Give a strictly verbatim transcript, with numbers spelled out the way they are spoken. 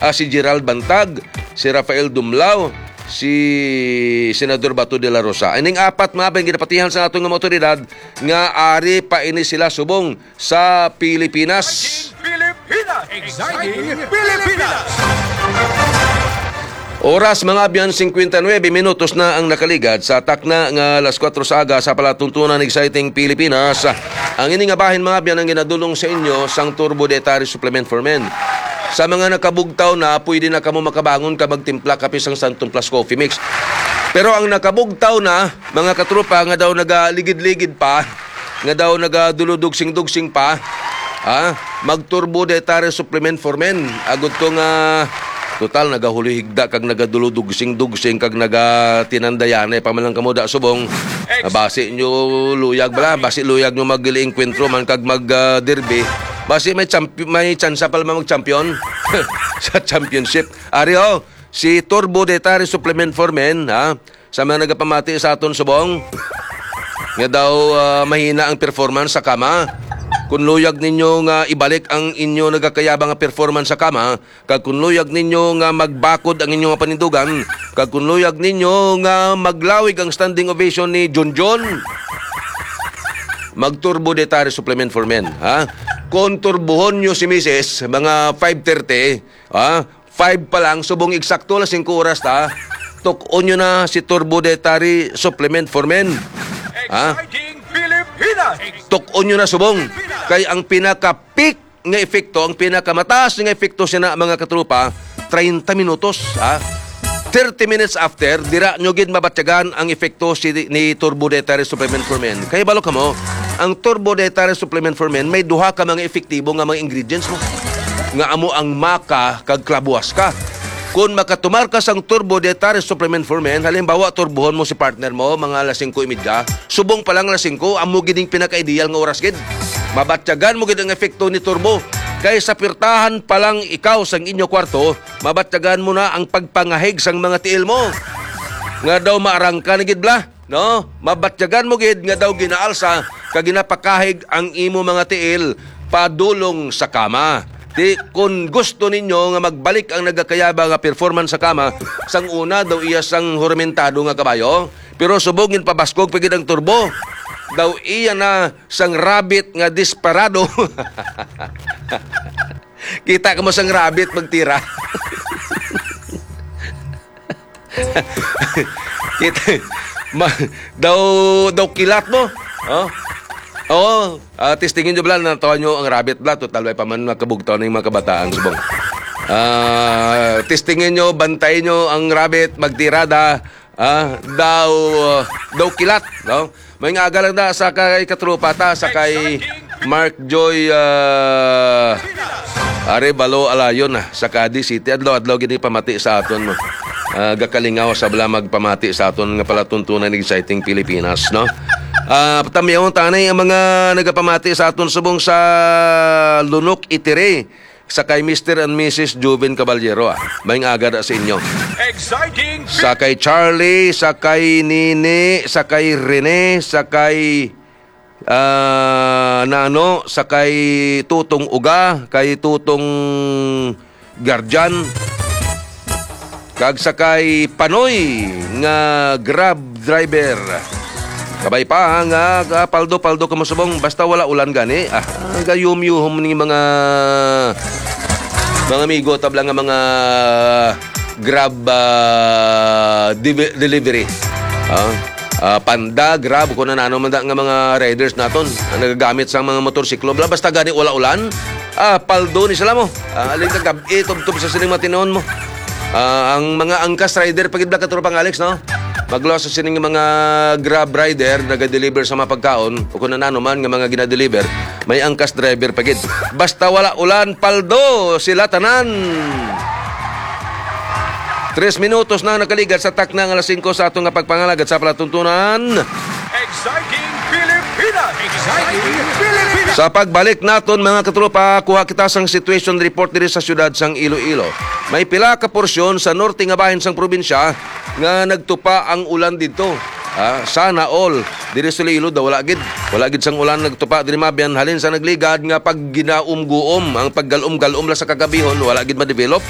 ah, si Gerald Bantag, si Rafael Dumlao, si Senador Bato de la Rosa. Ining apat, mga abyan, ginapatihan sa aton nga mga otoridad nga ari pa ini sila subong sa Pilipinas. Pilipinas! Exciting Pilipinas! Oras, mga abyan, singkwenta y nuebe minutos na ang nakaligad sa takna nga alas kuwatro sa aga sa palatuntunan. Exciting Pilipinas. Ang ini nga bahin, mga abyan, ang ginadulong sa inyo sang Turbo Dietary Supplement for Men. Sa mga nakabugtaw na, pwede na kamo makabangon ka magtimpla kape sang Santon Plus Coffee Mix. Pero ang nakabugtaw na, mga katropa, nga daw nagaligid-ligid pa, nga daw nagadulo-dugsing-dugsing pa, ha? Mag-Turbo Dietary Supplement for Men. Agud to nga, total, nagahulihigda kag nagadulo-dugsing-dugsing kag nagatinandayanay pa man lang kamo da subong. Basi nyo luyag bala, basi luyag nyo mag-enkwentro man kag mag, ah, derby. Basi may champ-, may tsansa pa lang mag-champion sa championship. Ari, oh, si Turbo Dietary Supplement for Men, ha? Sa mga nagapamati sa aton subong, nga daw, ah, mahina ang performance sa kama. Kung luyag ninyo nga ibalik ang inyo nagakayaba nga performance sa kama, kag kung luyag ninyo nga magbakod ang inyo nga panindugan, kag kung luyag ninyo nga maglawig ang standing ovation ni Junjun, mag-Turbo Dietary Supplement for Men, ha? Kung turbuhon nyo si misis, mga five thirty, ha? Five pa lang, subong eksakto, alas singko oras ta. Tuk-on nyo na si Turbo Dietary Supplement for Men. Ha? Exciting Pilipinas! Tuk-on nyo na subong. Kay ang pinaka-peak nga epekto, ang pinakamataas nga epekto siya na, mga katropa, treinta minutos, ha? Thirty minutes after, dira nyo gid mabatyagan ang epekto si, ni Turbo Dietary Supplement for Men. Kay balo kamo, ang Turbo Dietary Supplement for Men may duha ka mga epektibo nga mga ingredients mo, nga amo ang maca kag clavo huasca. Kung makatumar ka sang Turbo Dietary Supplement for Men, halimbawa, turbohon mo si partner mo, mga alas singko y media, subong pa lang alas singko, amo gid ning pinaka-ideal nga oras gid. Mabatyagan mo gid ang epekto ni Turbo. Kay sa pirtahan pa lang ikaw sang inyo kwarto, mabatyagan mo na ang pagpangahig sang mga tiil mo. Nga daw maarangka na gid bala, no? Mabatyagan mo gid nga daw ginaalsa kag ginapakahig ang imo mga tiil padulong sa kama. Di, kung gusto ninyo nga magbalik ang nagakayaba nga performance sa kama, sang una daw iya sang huramentado nga kabayo, pero subong ginpabaskog pa gid ang turbo. Daw iya na sang rabbit nga desperado. Kita ka mo sang rabbit magtira. Kita, ma, daw, daw kilat mo. Oh? Oo, ah, testingin nyo bala, natawa nyo ang rabbit bala. Total, way pa man makabugtaw na yung mga kabataan, subong. Ah, testingin nyo, bantayin nyo ang rabbit, magtirada. Ah, daw, daw kilat, no? May nga aga lang da sa kay katropa ta, sa kay Mark Joy, ah, Arevalo Alayon, ah, sa Cadiz City. Adlaw-adlaw gini pamati sa aton, no? Ah, gakalingaw sa bala magpamati sa aton nga palatuntunan, exciting Pilipinas, no? Ah, patamyaon tanay ang mga nagapamati sa aton subong sa Lunok Itire, sa kay Mister and Missus Joven Caballero, ah. Maayong aga da sa inyo. Exciting! Sa kay Charlie, sa kay Nini, sa kay Rene, sa kay, ah, Nano, sa kay Tutong Uga, kay Tutong Guardian, kag sa kay Panoy nga Grab driver. Kabay pa, ha, nga, ah, paldo-paldo ka mo subong, basta wala ulan gani. Ah, gayum-yuhom ni mga, mga amigo, tabla nga mga Grab, ah, divi-, delivery. Ah, ah, Panda, Grab, kung ano man da nga mga riders naton, ang nagagamit sa mga motorsiklo. Bla, basta gani wala ulan, ah, paldo ni sila mo. Ah, aling kagab-, itubtob sa sining matinon mo. Ah, ang mga angkas rider, pagid bla, katropang Alex, no? Magluwas sa sining mga Grab rider, naga-deliver sa mga pagkaon, o kung ano man nga mga ginadeliver, may angkas driver pa gid. Basta wala ulan, paldo sila tanan. Tres minutos na ang nakaligad sa takna nga alas singko sa aton nga pagpangalagad sa palatuntunan. Exciting Pilipinas! Exciting Pilipinas! Sa pagbalik naton, mga katropa, kuha kita sang situation report diri sa siyudad sang Iloilo. May pila ka porsyon sa norte nga bahin sang probinsya nga nagtupa ang ulan didto. Ah, sana all. Diri sa Iloilo daw wala gid. Wala gid sang ulan nagtupa diri, mga abyan, halin sa nagligad nga pag ginaumguom, ang paggalom-galom la sa kagabihon, wala gid ma-develop.